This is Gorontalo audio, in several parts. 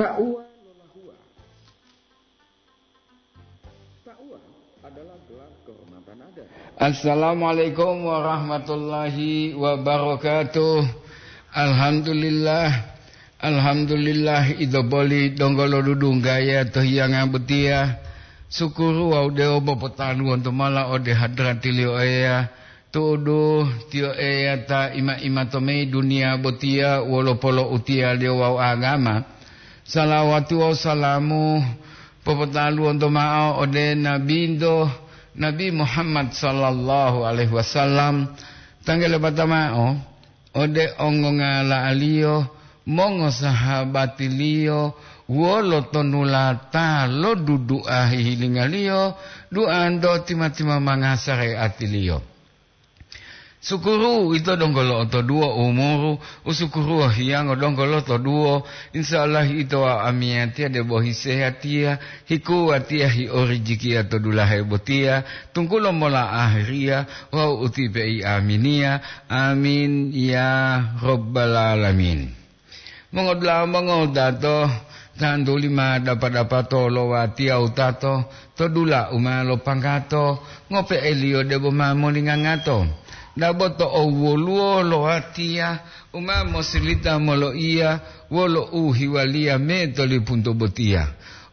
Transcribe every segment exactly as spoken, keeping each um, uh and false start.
Taqwa lolahua. Taqwa adalah gelar kehormatan ada. Assalamualaikum warahmatullahi wabarakatuh. Alhamdulillah. Alhamdulillah, ito boli donggo lo dudunggaya to hiyanga botiya. Sukuru wawu dewo popotaluwonto mala ode hadratiliyo Eya. Tu'udu, Tiyo Eya ta ima-ima to meyi duniya botiya wolo polo'utiyaliyo wawu agama. Salawati wawu salamu popotaluwonto ma'o ode Nabinto, Nabi Muhammad sallallahu alaihi wasallam, tanggele bata ma'o ode ongongala'aliyo, mongosahabatiliyo, wolo tonulata lo dudu'a hihilingaliyo, duanto tima-timamanga sareatiliyo. Sukuru ito donggo lo'otoduwo umuru, usukuruwo hiyango donggo lotoduwo, insya Allah ito wawu amiyatiya debo hisehatiya, hikuwatiya hiorijikiya to dulahe botiya, tunggulo mola ahiriya wawu utipe'i aminiya. Amin ya Rabbal Alamin. Mongodula'a mongowutato, tantuli ma dapa-dapato lo watiya wutato to dula u ma lopanggato, ngope'eliyo debo ma molingangato. Dabo to owoluwo lo watiya u ma mosilita moloiya wolo u hiwaliya me to lipunto botiya.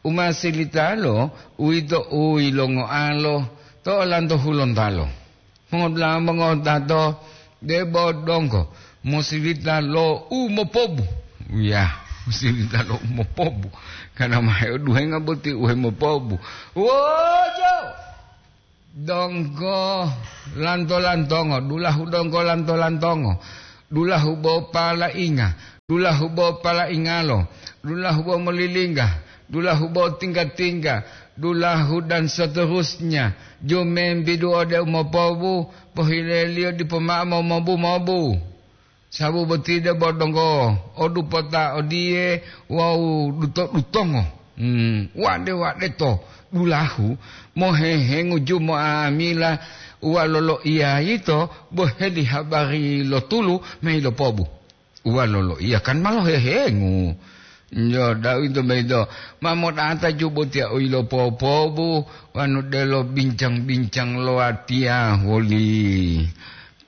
U ma silitalo, uwito u yilongoalo to olanto hulontalo. Mongodula'a mongotato, debo donggo mosilita lo u mopobu. Ya, mosilita lo u mopobu. Karena ma heoduhenga boti u hemopobu. Wojo! Donggo lanto-lantongo, dulahu donggo lanto-lantongo, dulahu bo palainga, dulahu bo palaingalo, dulahu bo molilingga, dulahu bo tingga-tingga, dulahu dan seterusnya, jumembidu ode umopobu, pohileliyo dipo ma'o momobu-mobu. Sabu boti debo donggo o dupota odiye wawu duto-dutongo, hmm, wade-wade to dulahu mohehengu jumo'amila uwa loloiya yito boheli habari lo tulu ma yilopobu. Uwa loloiya kan ma lohehengu. Jo, dawinto boyito ma modata jubotiya u yilopopobu wanu delo bincang-bincang lo watiya woli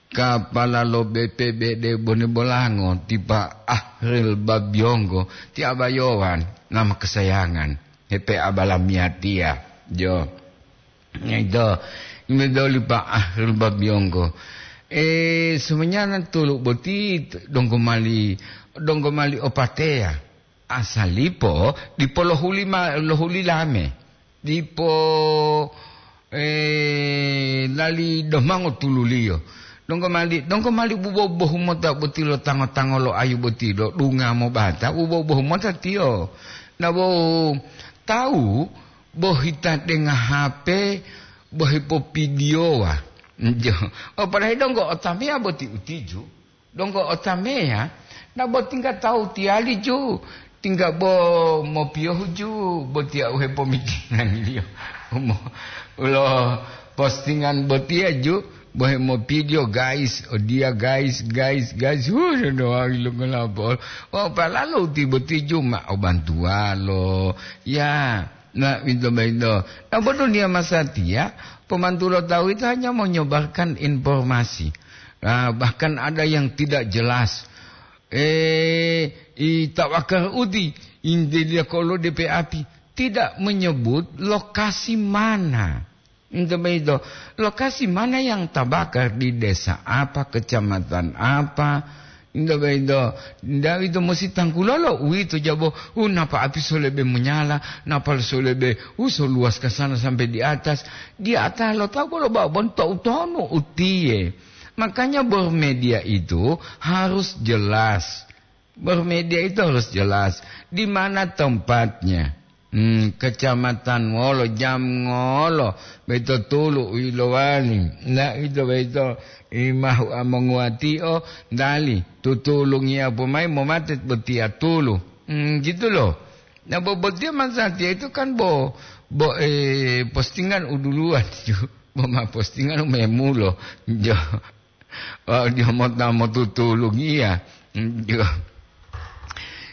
kapala lo B P B D Bone Bolango, ti Pa Ahril Babiyonggo, ti abayowan nama kesayangan, hepe abalamiyatiya. Jo. Ito, imedoli Pa Ahril Babiyonggo. Eh, sebenarnya tulu boti donggo mali, donggo mali opateya. Asalipo dipo lohuli ma-, lohuli lame. Dipo, eh, lali domango tululiyo. Donggo mali, donggo mali bubo-bubohu mota boti lo tango-tango lo ayu boti lo dunga mobata, bubo-bubohu mota tiyo. Na bo tawu bohita denga H P, bohipopidiyowa. Jo. O, padahal donggo otameya boti utiju. Donggo otameya, na bo tingga tawu tiyali ju, tingga bo mopiyohu ju, botiya u hepomikirangiyo. Umo, ulo postingan botiya ju, bo hemopidiyo, guys, odiya, guys, guys, guys, hu, dodoawi lo ngolapol. Oh, palalu ti boti ju ma o bantuwalo. Ya, na, winto boyito. Na bo duniya masatiya, pomantulo tawu yito hanya menyebarkan informasi. Ah, bahkan ada yang tidak jelas. Eh, i tawakar uti, inteliya kolo D P api, tidak menyebut lokasi mana. Ento boyito, lokasi mana yang tabakar, di desa apa, kecamatan apa. Ento boyito, nda ito musi tangkulolo uwito jabo, u napa api so lebe monyala, napa so lebe, u so luwas ka sana sampai di atas. Di atas lo tawu bolo babon to utonu utiye. Makanya bermedia itu harus jelas. Bermedia itu harus jelas. Di mana tempatnya? Hmm, kecamatan wolo, jam ngolo, boyito tulu u yilowali. Na ito boyito imahu amonguwatio, dali, tutulungiya pomayi momate botiya tulu. Hmm, gitu loh. Na bo-, botiya masatiya itu kan bo-, bo-, eh, postingan u duluwan ju. Bo ma postingan u memulo. Jo. Wawu diyo mota motutulungiya. Diyo.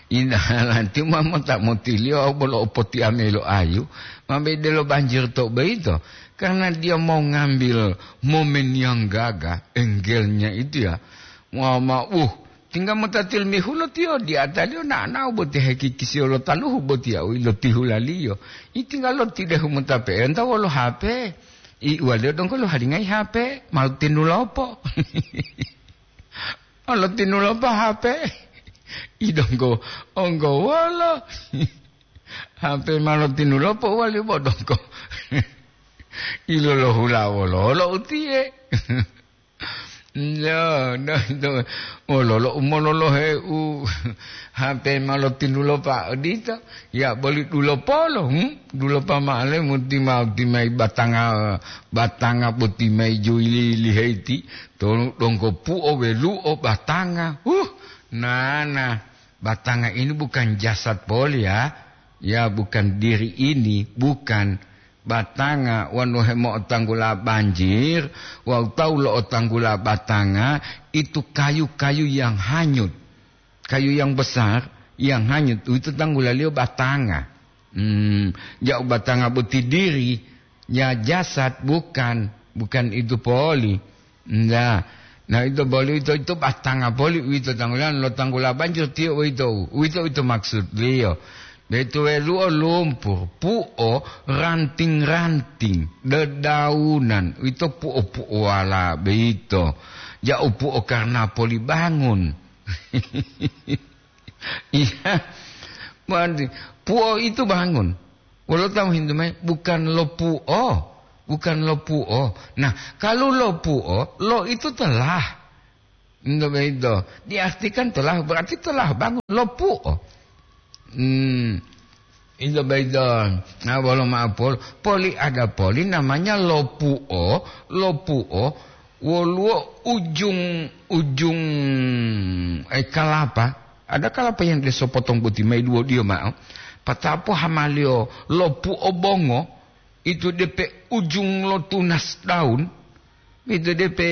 Indahalanti ma mota motiliyo bolo opotiame lo ayu, ma bede lo banjir to boyito, karena dia mau ngambil momen yang gagah, angle-nya itu ya. Wah, ma, uh, tinggal mota tilmihu lo tiyo, di ataliyo na'ana'o boti hekikisiyo lo taluhu boti ya, u ilotihulaliyo. Tinggal lo tidehu mota pe'enta wolo H P. I uwaliyo donggo lo halingayi H P, mau tinulopo. Olo tinulopa H P. I donggo, onggo wolo. H P ma lotinulopa wali bo donggo. Ilolo hula wololo utiye. No, no, no. Wololo umololohe u H P ma lotinulopa odito. Ya boli dulopolo, hmm? Dulopa ma'ale muti mau timai batanga, batanga boti mai juili liheiti. Tonu donggo puo weluo batanga. Huh, nana, batanga ini bukan jasad poli ya. Ya, bukan diri ini, bukan. Batanga wonu hemo'otanggula banjir, wawu tawu lo'otanggula batanga, itu kayu-kayu yang hanyut. Kayu yang besar, yang hanyut, itu tanggulaliyo batanga. Hmm, ja'u batanga boti diri, ya jasad bukan, bukan itu poli. Nda. Nah, ito boli ito, ito batanga poli uwito tanggulan lo tanggula banjir tiyo uwito. Uwito, uwito maksudliyo. Betuweluo lumpur, puo ranting-ranting, dedaunan, uwito puo-puowala beito. Ja'u puo karena poli bangun. Iya. Berarti puo itu bangun. Wolo tamu hintu mai, bukan lo puo. Bukan lo puo. Nah, kalau lo puo, lo itu telah. Ento beito. Diartikan telah, berarti telah bangun. Lo puo. Hmm. Ento beito. Nah, wolo ma'o pol-, poli ada poli namanya lo puo. Lo puo. Woluwo ujung-ujung, eh, kalapa. Ada kalapa yang dia sopotong boti mai duwo diyo ma'o. Patapo hamaliyo lopu obongo, itu depe ujung lo tunas daun, itu depe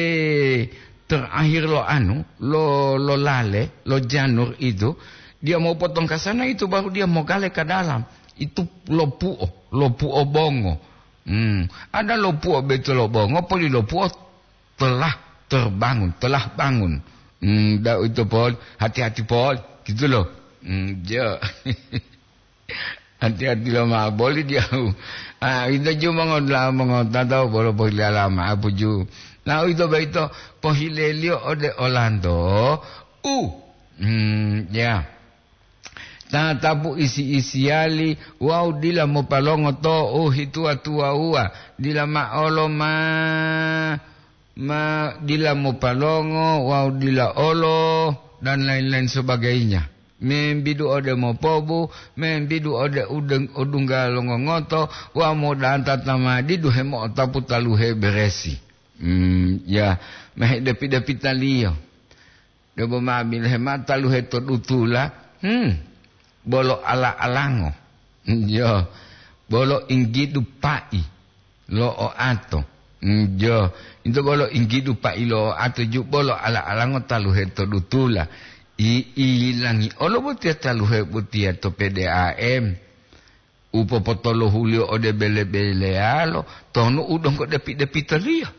terakhir lo anu, lo, lo lale, lo janur itu, dia mau potong ke sana, itu baru dia mau gale ke dalam. Itu lopuo, lopuo bongo. Hmm, ada lopuo beto lo bongo, poli lopuo telah terbangun, telah bangun. Hmm, da itu Paul, hati-hati Paul, gitu loh. Hmm, jo. Hati-hati lo ma boli dia. Ah, itu ju mongo la mongo tata bolo pohile lama apuju. Nah, itu baito pohilelio ode Orlando. Uh, hmm, ya. Tatapu isi-isiyali wawu dila mopalongo to u hituwa-tuwawuwa, dila ma'olo ma, ma dila mopalongo wawu dila olo, dan lain-lain sebagainya. Membidu ode mopobu, membidu ode udeng-, odungga longongoto, wawu modanta tamadidu hemo'otapu taluhe beresi. Hmm, ya, mehedepi-depitaliyo. Debo ma bilohe mao taluhe to dutula, hmm, bolo ala-alango. Yo, bolo inggidu pa'i lo oato. Hmm, yo, into bolo inggidu pa'i lo oato ju bolo ala-alango taluhe to dutula. I, ilangi olo botiya taluhe botiya to P D A M. U popotolohuliyo ode bele-beleyalo, tonu u donggo depi-depitoliyo.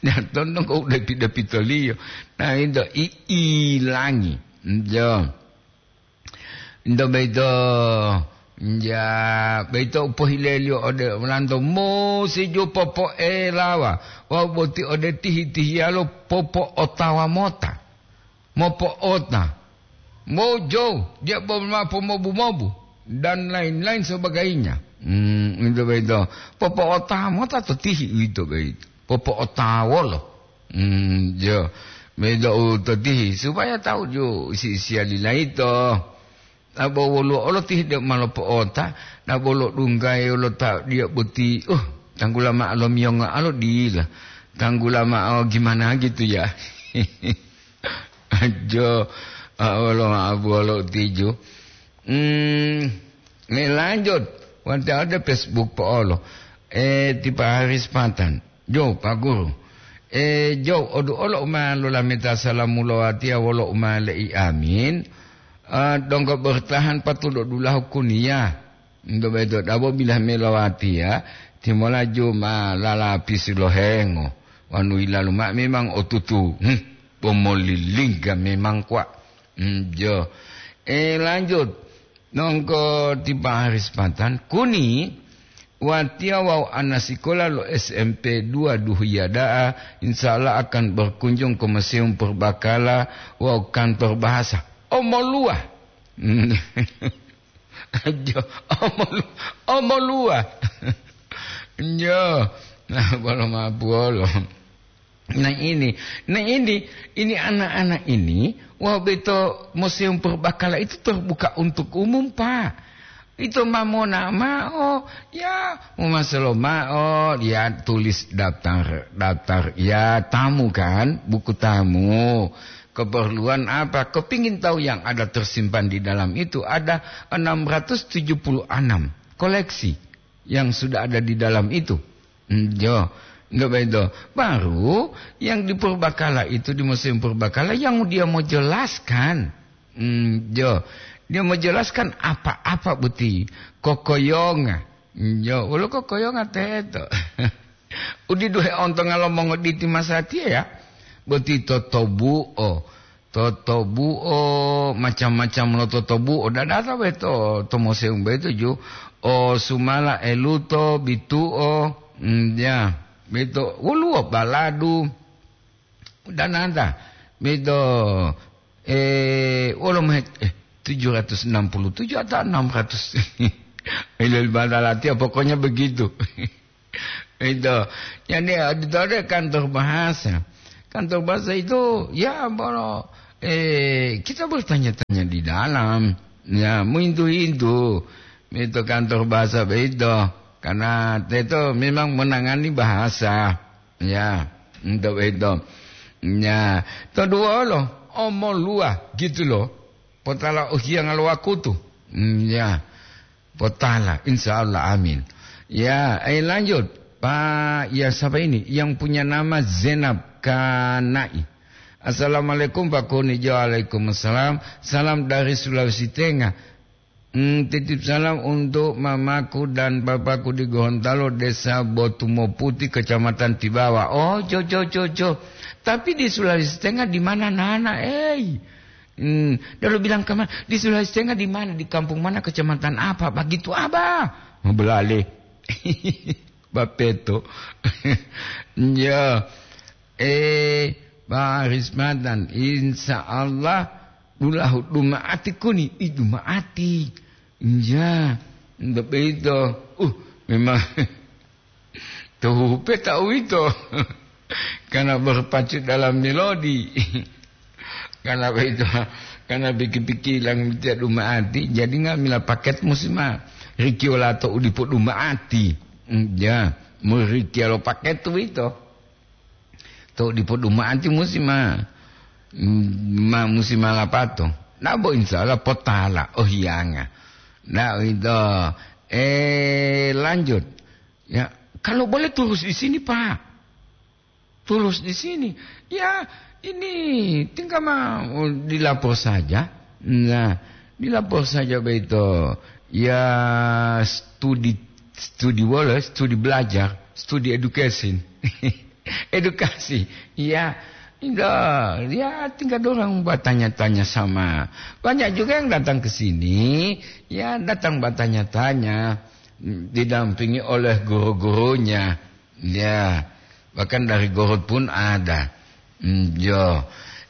Ya, tonu donggo u depi-depitoliyo. Nah, into i-, ilangi. Jo. Into beito, ja, beito u pohileliyo ode olanto musi ju popoelawa. Wawu boti ode tihi-tihiyalo popo'otawa mota. Mopo'ota, mojou, dia bolo mao pomobu-mobu, dan lain-lain sebagainya. Hmm, itu begitu. Popo'ota mota to tihi uwito boyito. Popo'ota wolo. Hmm, jo. Begitu u to tihi, supaya tahu ju isi-isiya lilaito. Abo woluwo olo tihide ma lopo'ota, nabo lodunggayi lo ta diya boti, uh, tanggula ma'o lomiyongo alo dila. Tanggula ma'o gimana gitu ya. Ajo, ah, wolo ma'o buwolo tiju. Hmm, me lanjut. Wante ada Facebook po'olo. Eh, tipa hari sepatan. Jo, Pak Guru. Eh, jo, odu olo uma lolameta salamu lo watiya wolo uma le'i amin. Ah, donggo bertahan patulo dulahu kuniya. Ndo beto dabo bilah melowatiya, timolaju ma lalapisi lohengo. Wanu ilalu ma memang otutu. Hmm, pomolilingga memang kwa. Hmm, jo. Eh, lanjut. Nongko tipa hari sepatan, kuni, watiya wawu ana sikola lo S M P dua Duhiya da'a, insya Allah akan berkunjung ke Museum Purbakala wawu kantor bahasa. Omoluwa. Jo, omolu-, omoluwa. Jo. Nah, bolo mabuolo. Nah, ini, nah, ini, ini anak-anak ini, wah, beto Museum Purbakala itu terbuka untuk umum, Pak. Itu ma monao mao, ya, mau masalo mao, ya, tulis daftar, daftar, ya, tamu kan, buku tamu. Keperluan apa? Kepingin tahu yang ada tersimpan di dalam itu, ada enam ratus tujuh puluh enam koleksi yang sudah ada di dalam itu. Hmm, jo, nggak begitu. Baru yang di Purbakala itu, di Museum Purbakala, yang dia mau jelaskan. Hmm, jo, dia mau jelaskan apa-apa boti kokoyonga. Hmm, jo, ulo kokoyonga teto. Udiduhe ontonga lo mongoditi masatiya ya. Boti totobuo. Totobuo, macam-macam lo totobuo. Dadata beto to museum beto ju. O sumala eluto, bituo, mm, ya, beto. Woluwo baladu. Dananta. Beto, eh, wolo mehet, eh, tujuh ratus enam puluh tujuh atau enam ratus. Ilal badalati, pokoknya begitu. Itu. Jadi, itu ada kantor bahasa. Kantor bahasa itu, ya, bolo, eh, kita bertanya-tanya di dalam. Ya, muintu-intu. Itu kantor bahasa begitu. Karena itu memang menangani bahasa. Ya, untuk itu. Ya, kedua lo, omoluwa gitu loh. Potala uhiyanga lo wakutu. Hmm, ya. Potala, insya Allah, amin. Ya, eh, lanjut. Pak, ya, siapa ini? Yang punya nama Zainab Kanai. Assalamualaikum, Pak Kuni. Waalaikumsalam. Salam dari Sulawesi Tengah. Hmm, titip salam untuk mamaku dan papaku di Gorontalo, Desa Botumoputi, Kecamatan Tibawa. Oh, jo, jo, jo, jo. Tapi di Sulawesi Tengah di mana, Nana? Eh. Hmm, lalu bilang ke mana? Di Sulawesi Tengah di mana? Di kampung mana? Kecamatan apa? Begitu, Abah. Belale. Bapeto. Ya. Eh, Pak Rismatan, insya Allah dulahu dumaati kuni, i dumaati. Ya, ndak begitu. Uh, memang Tuhupe ta uwito, karena berpacu dalam melodi. Karena itu, karena pikir-pikir lang tiya dumaati, jadi nga'amila paket musi ma rikiyo lato u dipo dumaati. Mm, ya, murikiya lo paket uwito. To dipo dumaati musi ma, mm, ma musi ma lapato. Nabo insya Allah potala, oh hiyanga. Nah, itu, eh, lanjut. Ya, kalau boleh terus di sini, Pak. Terus di sini. Ya, ini tinggal mau dilapor saja. Nah, dilapor saja begitu. Ya, studi, studi wala, studi belajar, studi education. Edukasi. Ya, enggak. Ya, tinggal orang bertanya-tanya sama. Banyak juga yang datang ke sini, ya, datang bertanya-tanya, didampingi oleh guru-gurunya. Ya, bahkan dari Gorut pun ada. Hmm, yo.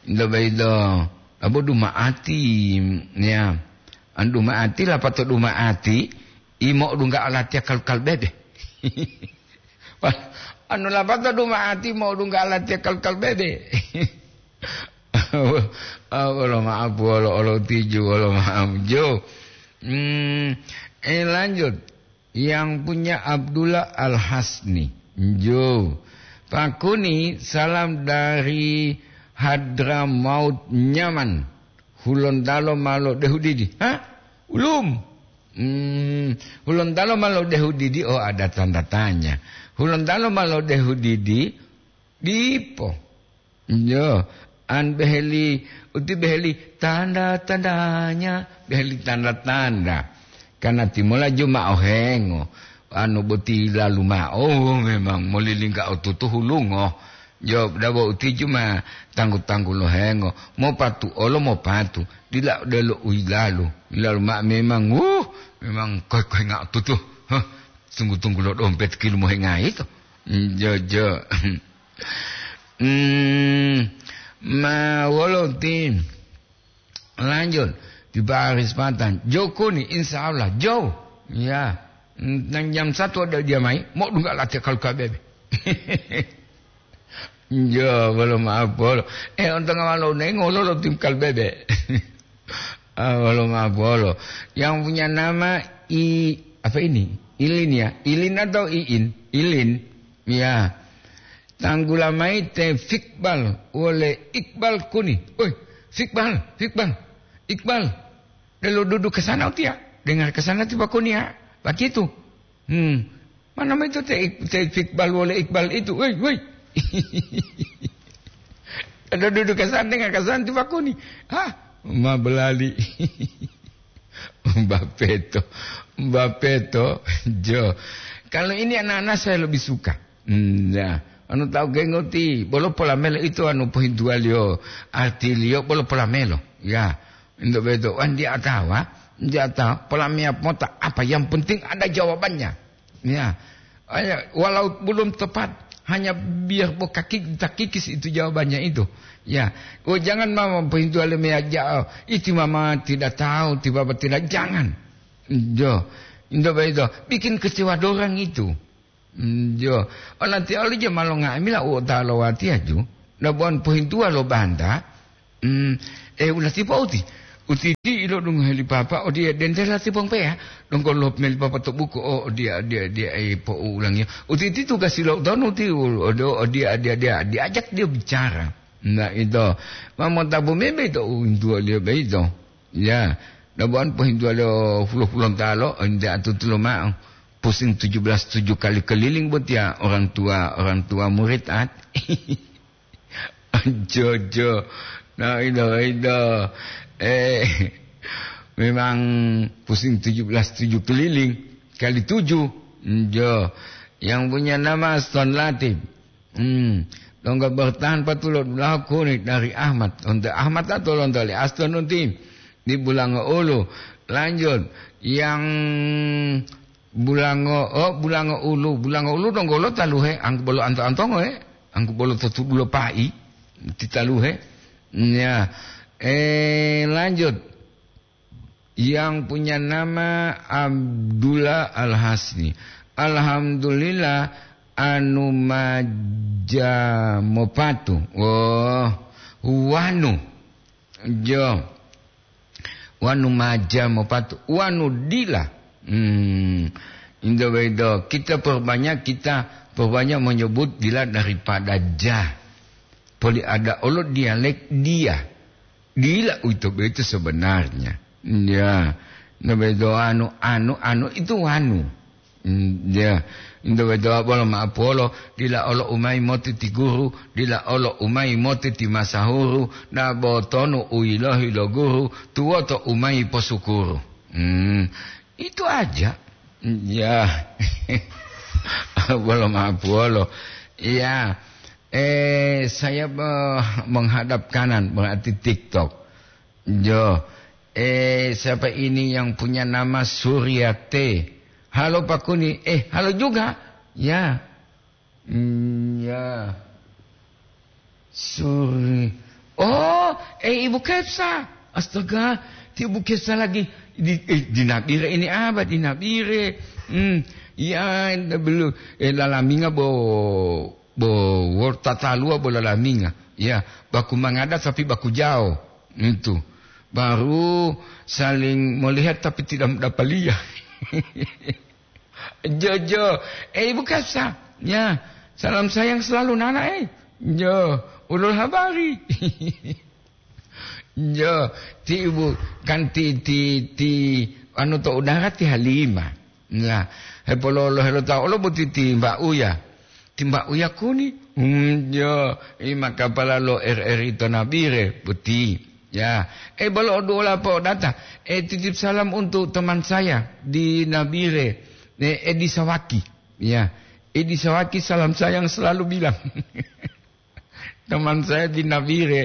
Indo baido. Abo dumaati, ya. An dumaati, lapato dumaati, imo dungga alatiya kal-kal bebe. Wah, anu lapato dumaati, mo dungga alatiya kal-kal bebe. Ah, wolo maaf, wolo, wolo tiju, wolo maaf, jo. Hmm, eh, lanjut. Yang punya Abdullah Al-Hasni. Jo. Pakuni, salam dari Hadramaut Nyaman. Hulontalo ma lodehu didi. Hah? Ulum. Hmm, Hulontalo ma lodehu didi, oh, ada tanda tanya. Hulontalo ma lodehu didi, dipo. Yo, an beheli, uti beheli tanda-tandanya, beheli tanda-tanda. Karena timola juma ohengo, anu boti lalu ma'o, oh, memang molilingga otutu hulungo. Jo, dabo uti juma tanggu-tanggu lohengo, mopatu olo mopatu, dila delo uyilalu. Lalu ma memang, wuh, memang koi-koi nga otutu. Huh, tunggu-tunggu lo dompet kilu mohengai to. Jo, jo. Hmm, ma wolo ti lanjut di baris patan. Jokuni, insya Allah. Jo. Ya. Nang jam satu ada dia mai, mau dungga latihan kalau K B B. Jo, belum apa lo. Eh, untung awal lo nengol lo tim K B B. Ah, belum apa lo. Yang punya nama I, apa ini? Ilin ya? Ilin atau Iin? Ilin. Ya. Tanggula mayi te Fikbal wole Iqbal kuni. Oi, Fikbal, Fikbal, Iqbal. Delo dudu ke sana utia. Dengar ke sana tiba kuni ya. Begitu. Hmm. Mana itu te, te Fikbal wole Iqbal itu? Woi, woi. Ada dudu ke sana dengar ke sana tiba kuni. Hah? Ma belali. Mbapeto. Mbapeto. Jo. Kalau ini anak-anak saya lebih suka. Hmm, ya. Anu tahu gengoti, bolo polamelo itu anu pohintuwaliyo, artiliyo bolo polamelo. Ya, ento beto, wan dia tawa, dia tawa, polamea pota apa, yang penting ada jawabannya. Ya, ayo, walau belum tepat, hanya biar bo kaki, kita kikis itu jawabannya itu. Ya, oh, jangan mama pohintuwaliyo meya jao, itu mama tidak tahu, itu bapak tidak, jangan. Jo, ento beto, bikin kecewa dorang itu. Mm, jo. Olanti oli je ma longa'amila u otawa lo watiya ju, na bo wonu pohintuwa lo banta, mm, e, ulatipo uti. Uti di ilodungohe li papa, odiye dente lati pongpeya, donggo lop meli papa to buku, o, odiya, odiya, odiya, e, po'ulangiyo. Uti ti tugasi lo utonu ti, u-, odo, odiya, odiya, odiya, diajak dia bicara. Na ito, ma montabu mebe to uwintuwaliyo beito. Ya, dabuwan pohintuwaliyo pulo-pulontalo, ente atutu lomao. Pusing tujuh belas tujuh kali keliling botiya orang tua, orang tua murid at. Jojo. Nah, itu, itu. Eh, memang pusing tujuh belas tujuh keliling kali tujuh. Jo. Yang punya nama Aston Latif. Hmm. Donggo bertahan patulo dulahu kuni dari Ahmad. Untuk Ahmad atau lonto li Aston unti di Bulango Ulu. Lanjut. Yang Bulango, oh, Bulango Ulu. Bulango Ulu donggo lo taluhe, angku bolo anto-antongo, eh. Angku bolo to tudulo pai, ti taluhe. Ya. Eh, lanjut. Yang punya nama Abdullah Al-Hasni. Alhamdulillah, anu maja mopatu. Oh, wanu. Jo. Wanu maja mopatu. Wanu dila. Hmm. Indo bedo. Kita perbanyak, kita perbanyak menyebut dila daripada ja. Poli ada olo dialek dia. Dila uwito boyito sebenarnya. Ya, nto boyito anu, anu, anu itu wanu. Mm, ya, nto boyito bolo ma'apolo, dila olo umayi moti ti guru, dila olo umayi moti ti masahuru, na bo tonu u yilohi lo guru, tuwoto umayi posukuru. Mm, itu aja. Ya, bolo ma'apolo. Ya, eh, saya, eh, menghadap kanan, berarti TikTok. Jo, eh, siapa ini yang punya nama Suryate? Halo Pak Kuni. Eh, halo juga. Ya. Hmm, ya. Suri. Oh, eh, Ibu Kepsa. Astaga, ti Ibu Kepsa lagi di, eh, di Nabire ini apa? Di Nabire. Hmm, ya, belum. Eh, lalaminga bo, bo, wor tataluwa bo lalaminga. Ya, baku mangada tapi baku jao. Itu. Baru saling melihat tapi tidak mendapaliya. Jojo, eh, Ibu Kasa, ya, salam sayang selalu Nana, eh. Jo, ulul habari. Jo, ti Ibu, kan ti, ti, ti, anu to udara ti Halima. Nah, hepololo helo tau lo boti ti Mbak Uya. Timba'u yakuni. Hmm, yo, i makapala lo R R I to Nabire, boti. Ya, eh, bolo oduola po data. Eh, titip salam untuk teman saya di Nabire, eh, Edi Sawaki. Ya, Edi Sawaki salam sayang selalu bilang. Teman saya di Nabire.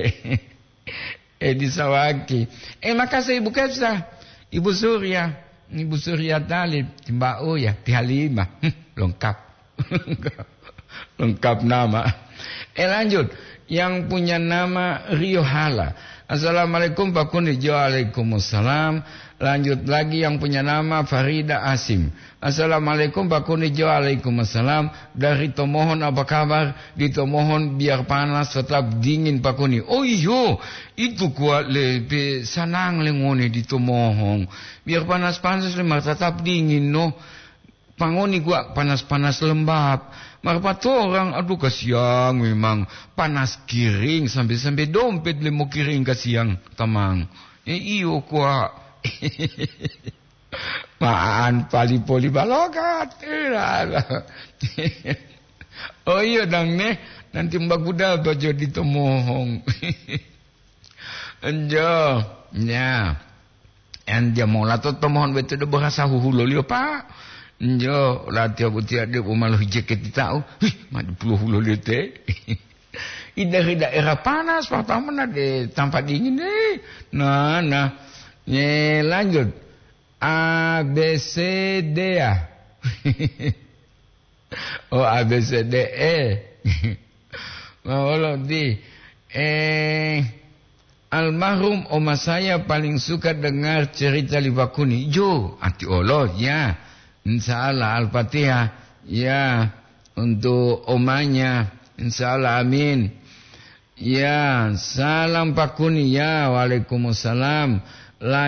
Eh, di Sawaki. Eh, makasih Ibu Kepsa. Ibu Surya. Ibu Surya Talib. Timba'u ya, ti Halimah. Hmm, lengkap. Lengkap nama. Eh, lanjut. Yang punya nama Rio Hala. "Assalamualaikum, Pak Kuni." Jo, waalaikumsalam. Lanjut lagi yang punya nama Farida Asim. "Assalamualaikum, Pak Kuni." Jo, waalaikumsalam. "Dari Tomohon, apa kabar?" "Di Tomohon biar panas tetap dingin, Pak Kuni." Oh iyo, itu kuat le, pe sanang le ngone di Tomohon. Biar panas-panas le, mar tetap dingin, no. Pangoni kuat panas-panas lembab. Mar patorang, aduh, kasiang memang. Panas kiring, sampai-sampai dompet le mokiring kasiang, tamang. Eh, iyo kuat. Ma'an pali-poli balogat. Oh iya dang ne, nanti mbaguda bajo di Tomohong. Enjo, ya. En dia mau lato Tomohon betu do bahasa huhuloliyo, Pak. Enjo, latiya butiya de umalo hijeketi tau. Wih, ma di pulo huloliyo te. Ida-, daerah panas, pertama na de tampa dingin deh. Nah, nah. Ye, lanjut. A B C D ya. Oh, A B C D E. Mau lo di, eh, almarhum oma saya paling suka dengar cerita li Bakuni. Jo, ati olo, ya. Insya Allah, Al-Fatihah. Ya, untuk omanya. Insya Allah, amin. Ya, salam Pak Kuni. Ya, waalaikumsalam.